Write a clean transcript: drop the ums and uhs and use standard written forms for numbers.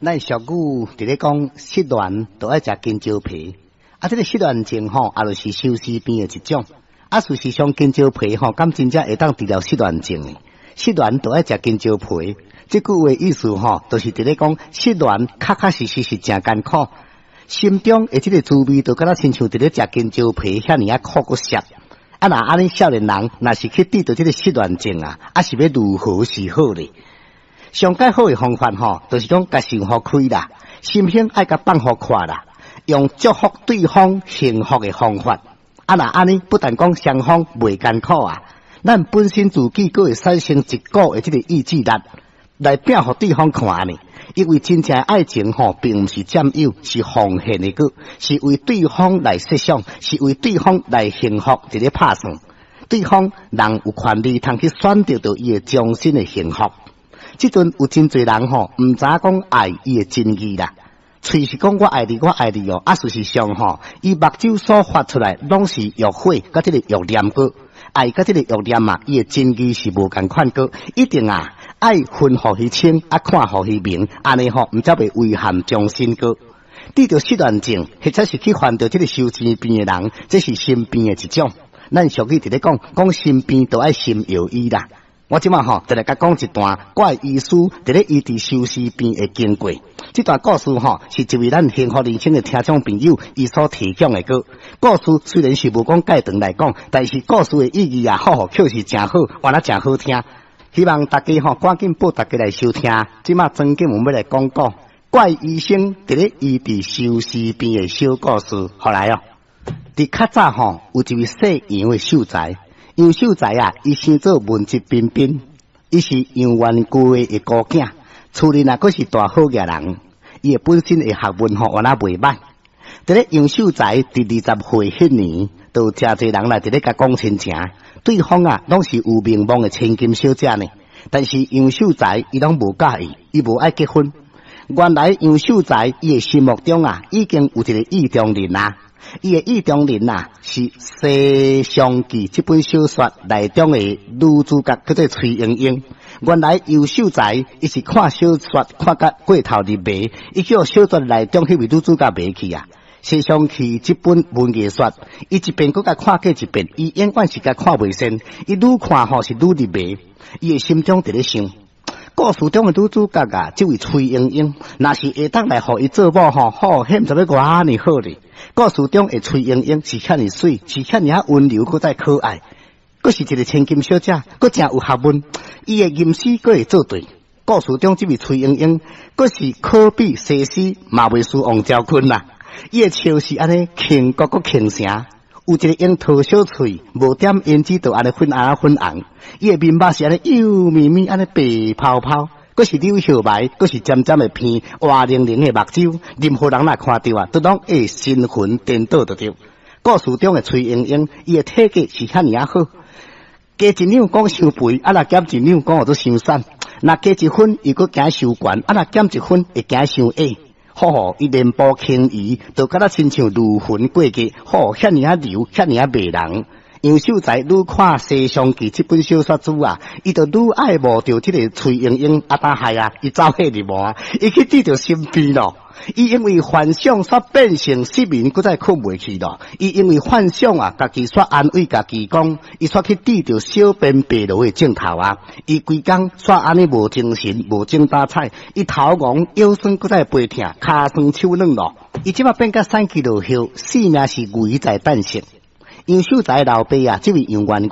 咱俗語佇咧講失戀就愛食香蕉皮，啊，這個失戀症吼，也就是相思病的一種。啊，事實上香蕉皮吼，敢真正會當治療失戀症的？失戀就愛食香蕉皮，這句話意思吼，就是佇咧講失戀確確實實是誠艱苦，心中的這個滋味，就敢若親像佇咧食香蕉皮遐爾仔苦閣澀。啊，若按呢少年人，若是去得著這個失戀症啊，啊是欲如何是好咧？上蓋好的方法吼，就是講共想予開啦，心胸愛共放予闊啦，用祝福對方幸福的方法。啊，若按呢，不但講雙方袂艱苦啊，咱本身自己閣會產生一股的這個意志力，來拼予對方看呢。因為真正的愛情吼，並毋是佔有，是奉獻的閣，是為對方來設想，是為對方來幸福佇咧拍算。對方人有權利通去選擇著伊的終身的幸福。這陣有真濟人吼，毋知影講愛伊的真義啦。喙是講我愛你，我愛你哦，啊，事實上吼，伊目睭所發出來攏是欲火佮這個欲念閣，愛佮這個欲念啊，伊的真義是無仝款閣，一定啊愛分予彼清，啊看予彼明，按呢吼，毋才袂遺憾終身閣。得著失戀症，或者是去患著這個相思病的人，這是心病的一種。咱俗語佇咧講，講心病就愛心藥醫啦。我這馬吼，就來共講一段怪醫師佇咧醫治相思病的經過。這段故事吼，是一位咱幸福人生的聽眾朋友伊所提供的歌。故事雖然是無講蓋長來講，但是故事的意義啊，好好確實誠好，原來誠好聽。希望大家吼，趕緊報大家來收聽。這馬曾經我們欲來講講怪醫生佇咧醫治相思病的小故事。好來哦，佇較早吼，有一位姓楊的秀才。楊秀才啊，伊生做文質彬彬，伊是楊元貴的姑囝，厝裡若閣是大好額人，伊的本身的學問吼，原來袂䆀。佇咧楊秀才佇20歲彼年，就有誠濟人來佇咧共講親情，對方啊，攏是有名望的千金小姐呢。但是楊秀才伊攏無佮意，伊無愛結婚。原來楊秀才伊的心目中啊，已經有一個意中人啊。伊的意中人啊，是《西廂記》這本小說內中的女主角，叫做崔鶯鶯。原來楊秀才伊是看小說看甲過頭入迷，伊叫小說內中彼位女主角迷去啊。《西廂記》這本文藝書，伊一遍閣共看過一遍，伊永遠是共看袂厭。伊愈看吼是愈入迷，伊的心中佇咧想。故事中的女主角啊，這位崔鶯鶯，若是會當來予伊做某吼，好，彼毋知欲偌爾好咧。故事中的崔鶯鶯是遐爾媠，是遐爾仔溫柔，閣再可愛，閣是一個千金小姐，閣誠有學問，伊的吟詩閣會做對。故事中這位崔鶯鶯，閣是可比西施，嘛袂輸王昭君啦。伊的笑是按呢輕國閣傾城，有一個櫻桃小喙，無點胭脂就按呢粉紅粉紅。伊的面目是按呢幼咪咪，按呢白泡泡，閣是柳葉眉，閣是尖尖的鼻，活靈靈的目睭，任何人若看著啊，都攏會神魂顛倒就對。故事中的崔鶯鶯，伊的體格是遐爾仔好，加一兩講傷肥，啊若減一兩講予做傷瘦。若加一分，伊閣驚傷懸，啊若減一分，會驚傷矮。好好，伊蓮步輕移，就敢若親像如雲過月，好，遐爾仔柔，遐爾仔迷人。楊秀才愈看《西廂記》這本小說書啊，伊就愈愛慕著這個崔鶯鶯。啊，當害啊，伊走火入魔，伊去得著心病咯。伊因為幻想煞變成失眠，閣再睏袂去咯。伊因為幻想啊，家己煞安慰家己講，伊煞去得著小便白羅的症頭啊。伊規工煞按呢無精神、無精打采，伊頭戇、腰酸，閣再背疼、跤酸手軟咯。伊這馬變甲散去落葉，性命是危在旦夕。楊秀才老爸啊，這位楊元。